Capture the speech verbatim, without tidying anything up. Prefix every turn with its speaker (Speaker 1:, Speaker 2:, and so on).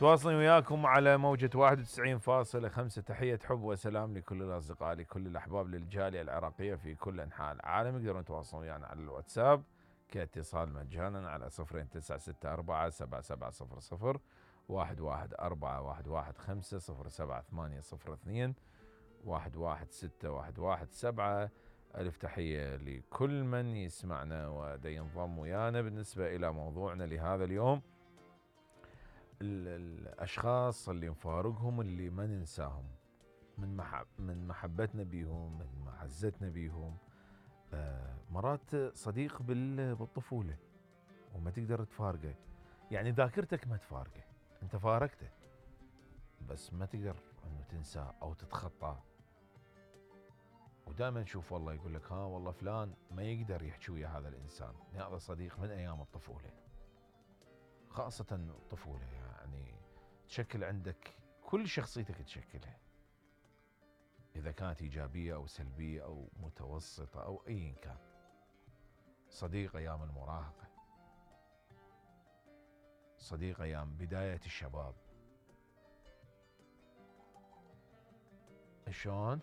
Speaker 1: تواصلين وياكم على موجة واحد وتسعين فاصلة خمسة. تحية حب وسلام لكل الأصدقاء، لكل الأحباب، للجالية العراقية في كل أنحاء العالم. يقدرون يتواصلون ويانا على الواتساب كاتصال مجانا على صفرين تسعة ستة أربعة سبعة سبعة صفر صفر واحد واحد أربعة واحد واحد خمسة صفر سبعة ثمانية صفر اثنين واحد واحد ستة واحد واحد سبعة. ألف تحية لكل من يسمعنا ودا ينضم ويانا. بالنسبة إلى موضوعنا لهذا اليوم، الأشخاص اللي نفارقهم اللي ما ننساهم من محب من محبتنا بيهم، من معزتنا بيهم. آه مرات صديق بالطفولة وما تقدر تفارقه، يعني ذاكرتك ما تفارقه، انت فارقته بس ما تقدر انه تنساه او تتخطاه. ودائما نشوف والله يقول لك ها والله فلان ما يقدر يحكي ويا هذا الانسان، هذا صديق من ايام الطفولة. خاصة الطفولة يعني تشكل عندك كل شخصيتك، تشكلها إذا كانت إيجابية أو سلبية أو متوسطة أو أي كان. صديق أيام المراهقة، صديق أيام بداية الشباب. شلون؟